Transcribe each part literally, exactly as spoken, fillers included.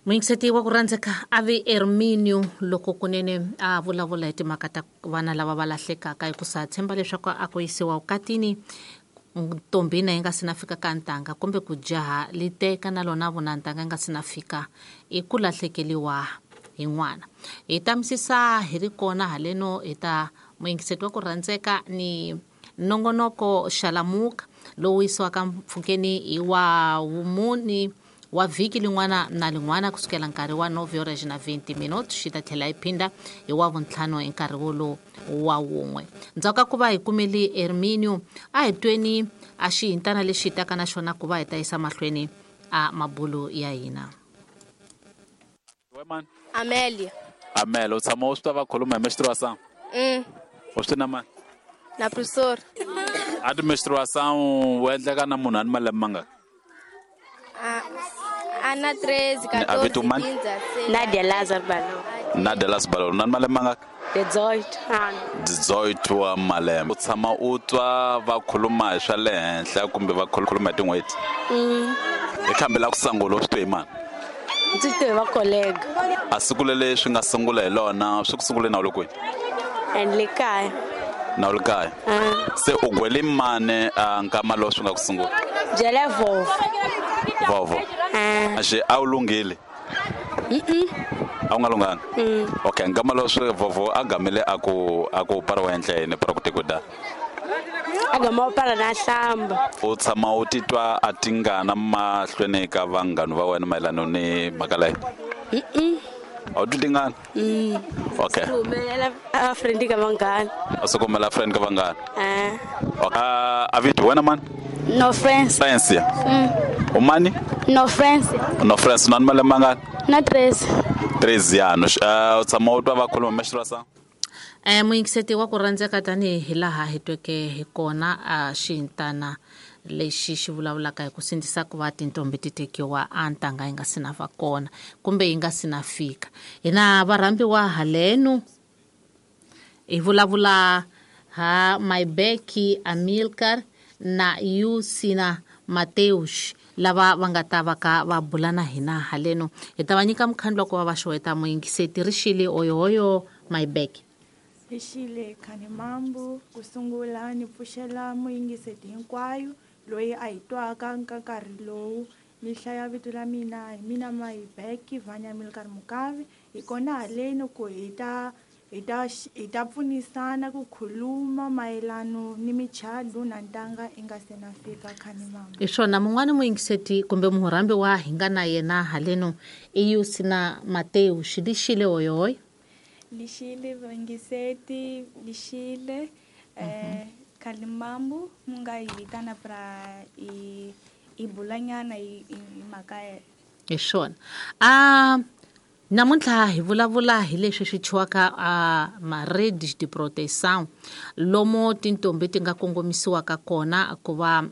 Muyingiseti wa ku rhandzeka a vi Erminio loko kunene a vulavula hi timhaka ta vana lava va lahlekaka hi ku sa tshemba leswaku a ku yisiwa vukatini ntombi na yi nga si na fika ka ntanga kumbe ku jaha li teka na lona vona ntanga yi nga si na fika i ku lahlekeliwa hi n'wana. Hi ta misisa hi ri kona haleno hi ta muyingiseti wa ku rhandzeka ni nongonoko Xalamuka lowu yisiwaka mpfhukeni hi wa vumuni wa vhiki lin'wana na lin'wana kusukela nkarhi wa nove horas na vinte minutos xi ta tlhela yi phinda hi wa vuntlhanu hi nkarhi wolowo wa wun'we. Ndzhaku ka ku va hi kumele Erminio a hi tweni a xihintana lexi hi taka na xona ku va hi ta yisa mahlweni a mabulu ya hina. Amelia. Amelia, u tshama u swi twa va khuluma hi menstruação? Mm. U swi na mani? Na professor. A ti menstruação wu endleka na munhu a ni malembe mangaki? Ana treze, A vito mani? quatorze, Nadia Lazar Balo. Nadia Lazar Balo, na malembe mangaki? Dezoito ano. Dezoito wa malembe. U tshama u twa va khuluma hi swa le henhla kumbe va khuluma hi tin'hweti? Mm. Hi khambi la ku sungula u swi twe hi mani? Ndzi twe va collega. A siku lele swi nga sungula hi lona swi ku sungule na u le kwihi? And le kaya. Na u le kaya? Ah. Se u gwele mani a nkama lowu swi nga ku sungula? Byele vovo. Vovo. Ah. Axi a wu lunghile? Mm-mm. A wu nga lunghanga? Mm. Okay, nkama lowu swi vovo a gamile a ku a ku para wa endla yini para ku te ku da? A gama u para na hlamba. U tshama u titwa a tingana mahlweni ka vanghana va wena mayelana ni mhaka leyi? Mm-mm. A wu twi tingana? Mm. Okay. Swi humelela a friend ka vanghana. A swi kumela friend ka vanghana? Ah. Okay. Uh, a vito wena mani? No friends. Friends ya? Mm. U mani? No friends. No friends, na malembe mangani? Na treze. Treze ano. Uh, u tshama u twa va khuluma menstruação? Eh muyingiseti wa ku rhandzeka tanihi hi laha hi tweke hi kona a xintana lexi xi vulavulaka hi ku sindzisa ku va tintombi ti tekiwa a ntanga yi nga si na va kona kumbe yi nga si na fika. Hina varhambiwa haleno hi vulavula ha Maibeki Amilcar na Yusina Mateus lava va nga ta va ka va bula na hina haleno. Hi ta va nyika mukhandlu wa ku va va xeweta muyingiseti rixile oyohoyo Maibeki. Rixile Khanimambu, ku sungula ni pfuxela muyingiseti hinkwayo loyi a hi twaka ka nkarhi lowu. Ni hlaya vito la mina hi mina Maibeki Vanya Milkar Mukavi. Hi kona haleni ku hi ta hi ta hi ta pfunisana ku khuluma mayelano ni michado na ntanga yi nga se na fika Khanimambu. Hi swona mun'wani muyingiseti kumbe murhambi wa hi nga na yena haleno i Yusina Mateus. Lixile oyoyo. Lixile vayingiseti, lixile eh Khalimambu mu nga hi vitana pra hi hi bulanyana hi hi mhaka ya. Hi swona. A namuntlha hi vulavula hi leswi swi thyiwaka a ma-redes de proteção lomo tintombi ti nga kongomisiwaka kona ku va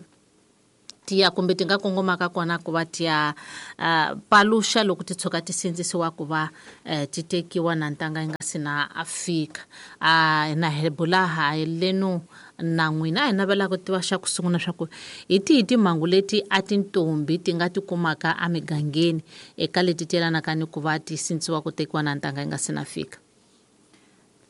tiya kumbe ti nga kongomaka kona ku va tiya uh, paluxa loko ti tshuka ti sindzisiwa ku va uh, ti tekiwa na ntanga yi nga si na fika. Uh, na hi bula ha leno na n'wina a hi navela ku tiva xa ku sungula swa ku hi tihi timhangu leti a tintombi ti nga ti kumaka emigangeni eka leti ti yelanaka ni ku va ti sindzisiwa ku tekiwa na ntanga yi nga si na fika.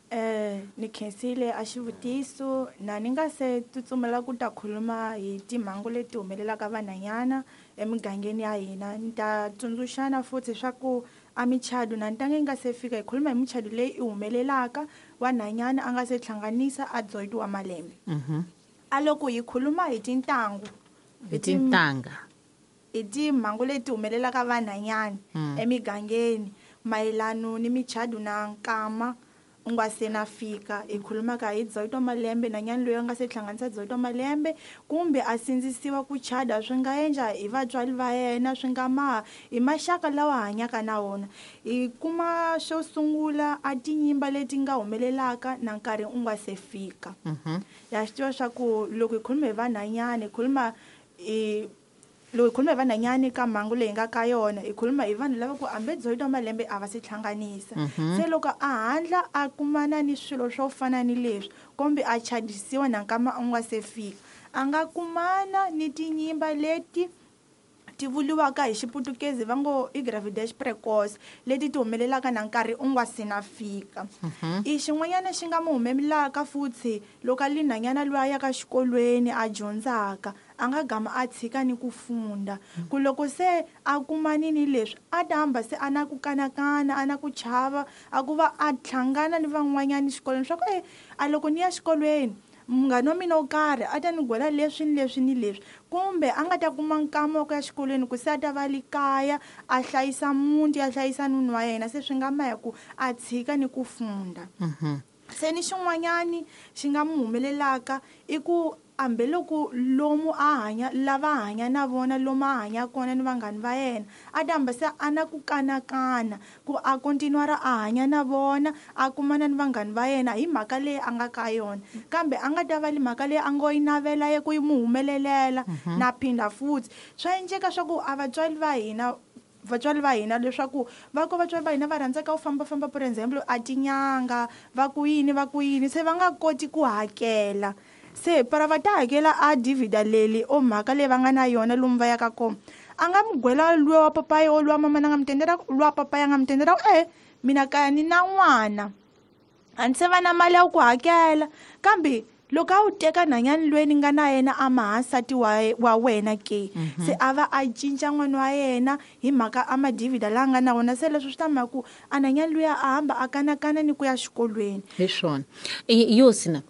Eh ni khensile a xivutiso na ni nga se tsutsumela ku ta khuluma hi timhangu leti humelelaka vanhwanyana emigangeni ya hina. Ni ta tsundzuxana futhi swa ku a michado na ntanga yi nga se fika hi khuluma hi michado leyi i humelelaka vanhwanyana a nga se hlanganisa a dzoyitiwa malembe. Mhm. A loko hi khuluma hi tintangu hi tintanga hi timhangu leti humelelaka vanhwanyana Mm. emigangeni mayelano ni michado na nkama u nga se na fika hi khulumaka hi dzoyito malembe na nyani loyi a nga se hlanganisa dzoyito malembe kumbe a sindzisiwa ku chada swi nga endla hi vatswari va yena swi nga maha hi maxaka lawa hanyaka na wona. Hi kuma xo sungula a tinyimba leti nga humelelaka na nkarhi u nga se fika. Mhm. Ya swi tiva swa ku loko hi khuluma hi vanhwanyana hi khuluma hi loko hi khuluma hi vanhwanyana ka mhangu leyi nga ka yona hi khuluma hi vanhu lava ku hambi dzoyito malembe a va se hlanganisa. Mhm. Se loko a handla a kumana ni swilo swo fana ni leswi kumbe a chadisiwa na nkama u nga se fika a nga kumana ni tinyimba leti ti vuriwaka hi xiputukezi va ngo i gravidez precoce leti ti humelelaka na nkarhi u nga si na fika. I xin'wanyana xi nga mu humelelaka futhi loko a li nhwanyana loyi a yaka xikolweni a dyondzaka a nga gama a tshika ni ku funda ku loko se a kumani ni leswi a ta hamba se a na ku kanakana a na ku chava a ku va a hlangana ni van'wanyana xikolweni swa ku e a loko ni ya xikolweni munghana wa mina wo karhi a ta ni gwela leswi ni leswi ni leswi kumbe a nga ta kuma nkama wa ku ya xikolweni ku se a ta va le kaya a hlayisa muti a hlayisa nuna wa yena se swi nga ma hi ku a tshika ni ku funda. Se ni xin'wanyani xi nga mu humelelaka i ku hambi loko lomu a hanya lava hanya na vona lomu a hanya kona ni vanghani va yena a ta hamba se a na ku kanakana ku a continuara a hanya na vona a kumana ni vanghani va yena hi mhaka leyi a nga ka yona kambe a nga ta va le mhaka leyi a ngo yi navela ye ku yi mu humelelela na phinda futhi swa endleka swa ku a vatswari va hina vatswari va hina leswaku va ko vatswari va hina va rhandzaka ku fambafamba for example a tinyanga va ku yini va ku yini se va nga koti ku hakela se para va ta hakela a divida leli o mhaka leyi va nga na yona lomu va yaka kona a nga mi gwela luwa wa papayi o luwa mama na nga mi tendela luwa papayi a nga mi tendela e mina kaya ni na n'wana a ni se va na mali ya ku hakela kambe loko a wu teka nhwanyana loyi ni nga na yena a ma nsati wa wa wena ke se a va a cinca n'wana wa yena hi mhaka a madivida laha nga na wona se leswi swi ta mhaka ku a nhwanyana luya a hamba a kanakana ni ku ya xikolweni. Hi swona yosina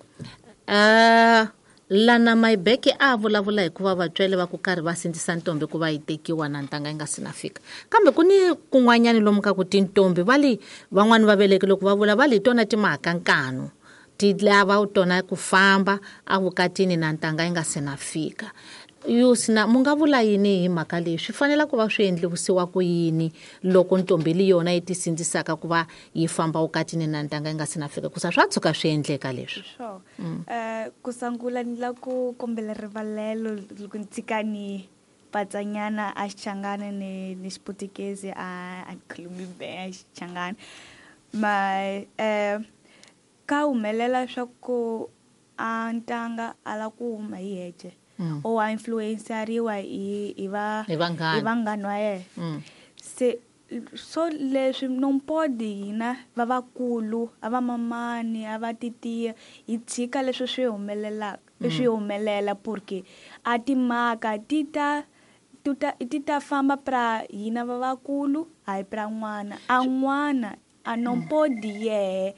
Uh, lana Maibeke a vulavula hikuva vatswari va ku karhi va sindzisa ntombi ku va yi tekiwa na ntanga yi nga si na fika kambe ku ni kun'wanyani lomu ka ku tintombi va li van'wani va veleki loko va vula va li tona timhaka nkanu ti lava tona ku famba evukatini na ntanga yi nga si na fika. Yosina mu nga vula yini hi mhaka leyi swi fanele ku va swi endlisiwa ku yini loko ntombi li yona yi ti sindzisaka ku va yi famba vukatini na ntanga yi nga si na fika ku sa swa tshuka swi endleka leswi? Sure. Eh ku sungula ni la ku kombela rivalelo loko ni tshika ni patsanyana a Xichangani ni ni xiputukezi a a khulumi be a Xichangani ma eh ka humelela swa ku a ntanga a la ku huma hi hexe Mm. o a influenceriwa hi hi va Hi vanghana. hi vanghana va yena. Mm. Se so leswi não pode hina va vakulu a va mamani a va titiya hi tshika leswi swi humelelaka swi humelela porque a timhaka ti ta ti ta ti ta famba pra hina va vakulu hayi pra n'wana a n'wana a não pode yehe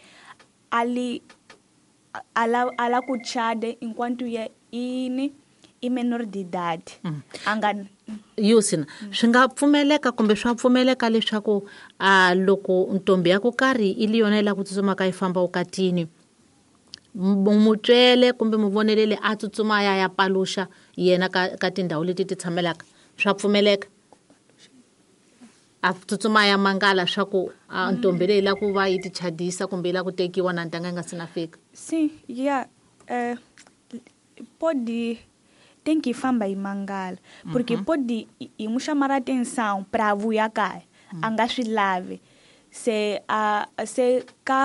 a li a la a la ku chade enquanto ye ini i menor de idade a nga Yosina swi nga pfumeleka kumbe swa pfumeleka leswaku a loko ntombi ya ku karhi i li yona yi lava ku tsutsumaka yi famba vukatini mutswele kumbe muvoneleli a tsutsuma ya ya paluxa yena ka ka tindhawu leti ti tshamelaka swa pfumeleka a tsutsuma ya mangala swa ku a ntombi leyi lava ku va yi ti chadisa kumbe yi lava ku tekiwa na ntanga yi nga si na fika? Sim, yeah, eh, pode tem que famba e mangala porque uhum. pode e me chamar a atenção para vuya kaya mm. anga swi lavi se a se ka